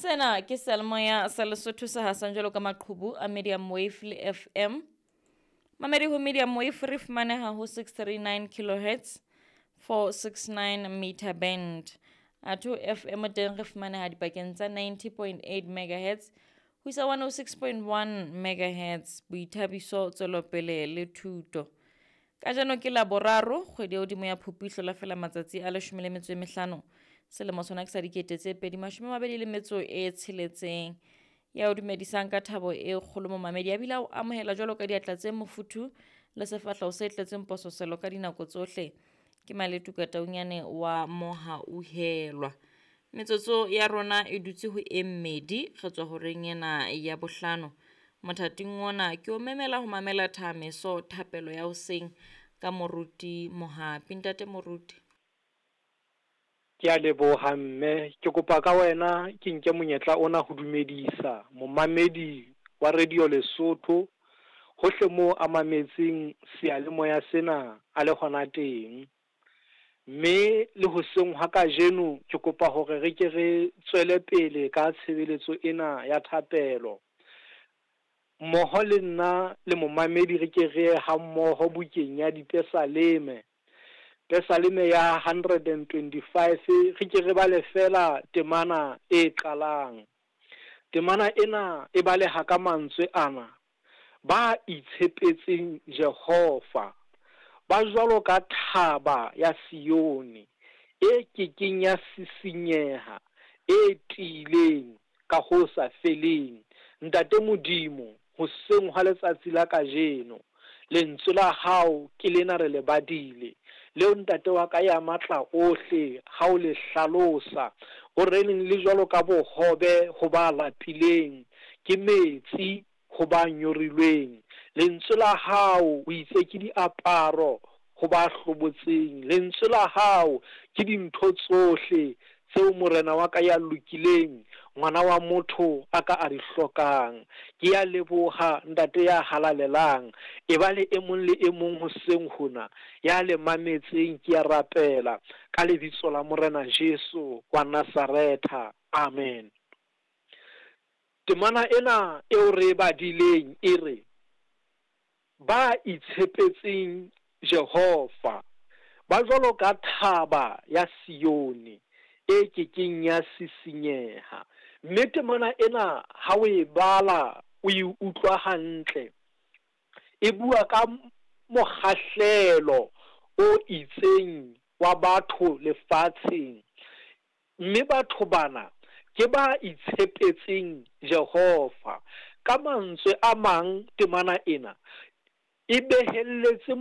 Sena ke seyalemoya sa Lesotho se hasang jwalo ka maqhubu a medium wave le FM. Mamedi ho medium wave re fumaneha ho 639 kilohertz 469 meter band. Atho FM teng re fumaneha dipakeng tsa 90.8 megahertz ho isa 106.1 megahertz. Boithabiso, tswelopele le thuto. Kajeno ke Laboraro, kgwedi ya hodimo ya Phupu e hlola fela matsatsi a 15 selemo sona ke sa 2026. Ya o dumedisang ka thabo e kgolo momamedi a bile a o amohela jwalo ka diatla tse mofuthu le sefahleho se tletseng pososelo ka dinako tsohle. Ke Maletuka Taunyane wa Mohauhelwa. Metsotso ya rona e dutse ho e mmedi re tswa horeng ena ya bohlano. Mothating ona ke o memela ho mamela thameso thapelo ya hoseng ka Moruti Mohapi. Ntate Moruti. Ke a leboha mme, ke kopa ka wena ke nke monyetla ona ho dumedisa momamedi wa Radio Lesotho hohle moo a mametseng seyalemoya sena a le hona teng. Mme le hoseng hwa kajeno ke kopa hore re ke re tswele pele ka tshebeletso ena ya thapelo. Mmoho le nna le momamedi re ke re ye ha mmoho bukeng ya Dipesaleme. Pesaleme ya 125 re ke re bale fela temana e qalang. Temana ena e baleha ka mantswe ana: ba itshepetseng Jehova ba jwalo ka thaba ya Sione e kekeng ya sisinyeha, e tiileng ka ho sa feleng. Ntate Modimo, hoseng hwa letsatsi la kajeno, lentswe la hao ke lena re le badile, leo ntate wa ka ya matla ohle ha o le hlalosa, o reneng le jwalo ka bohobe ho ba lapileng, ke metsi ho ba nyorilweng. Lentswe la hao o itse ke diaparo ho ba hlobotseng. Lentswe la hao ke dintho tsohle tseo morena wa ka ya lokileng, ngwana wa motho a ka a di hlokang. Ke ya leboha ntate ya halalelang. E ba le e mong le e mong hoseng hona ya le mametseng, ke ya rapela ka lebitso la Morena Jesu wa Nazaretha. Amen. Temana ena eo re e badileng e re, ba itshepetseng Jehova ba jwalo ka thaba ya Sione e kekeng ya sisinyeha. Mme temana ena ha o e bala o e utlwa hantle, e bua ka mokgahlelo o itseng wa batho lefatsheng. Mme batho bana ke ba itshepetseng Jehova. Ka mantswe a mang temana ena e behelletse.